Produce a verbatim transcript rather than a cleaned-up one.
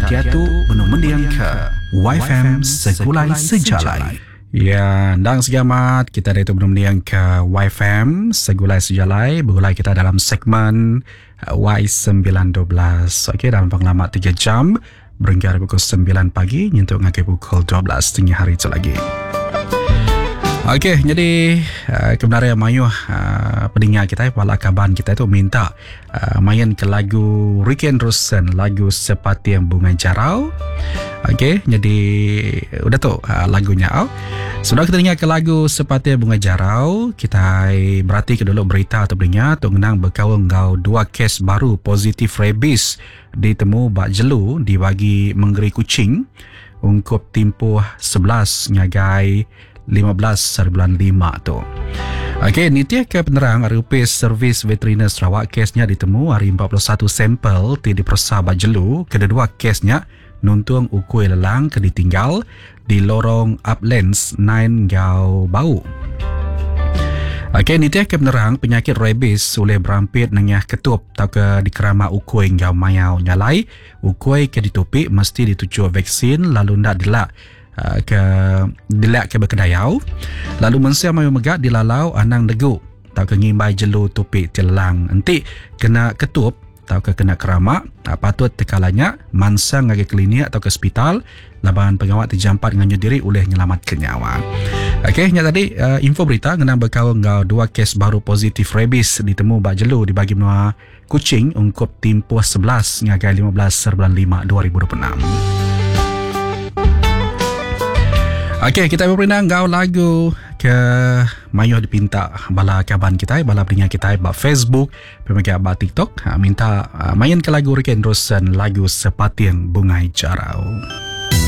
diatu benung mendingka Y F M Segulai Sejalai. Ya, endang segamat kita diatu benung mendingka Y F M Segulai Sejalai, begulai kita dalam segmen uh, Y sembilan dua belas. Okey, dalam pengelama tiga jam berengkah pukul sembilan pagi nyentuk ngagai pukul dua belas tengah hari itu lagi. Okey, jadi uh, kebenaran mayuh uh, pendengar kita, bala kaban kita itu minta uh, main ke lagu Ricky Andrewson, lagu Sepating Bungai Jarau. Okey, jadi udah tu uh, lagunya. Oh. Sudah kita dengar ke lagu Sepating Bungai Jarau, kita berarti ke dulu berita atau pendengar tu ngenang berkaul ngau dua kes baru positif rabies ditemu bak jelu dibagi Mengeri Kuching ungkup tempoh sebelas ngagai lima belas bulan lima tu. Okey, nitih ke penerang R U P Servis Veteriner Sarawak, kesnya ditemu hari empat puluh satu sampel ti diperesa ba jelu, kedua kesnya nuntung ukui lelang ke ditinggal di lorong Uplands sembilan Gau Bau. Okey, nitih ke penerang, penyakit rabies oleh berampit nengah ketup atau ke dikerama ukui ngau mayau nyalai. Ukui ke ditupi mesti dituju vaksin lalu ndak dilak uh, ke dilak ke berkedayau. Lalu mensia mayu megak dilalau anang negu atau ke ngimbai jelu tupi tilang. Enti kena ketup atau ke kena keramak, patut tekalanya mansang ngagai klinik atau ke hospital laban pengawal terjampat nganyu diri oleh nyelamat ke nyawa. Okey, nya tadi uh, info berita ngenang berkaul ngau dua kes baru positif rabies ditemu bak jelu di bagi menua Kuching ungkup tempoh sebelas ngagai lima belas bulan lima dua ribu dua puluh enam. Okey, kita berperindang ngau lagu ke mayuh dipinta bala kaban kita, bala pendengar kita ba Facebook, pemegang ba TikTok, ha, minta uh, main ke lagu Ricky Andrewson, lagu Sepating Bungai Jarau.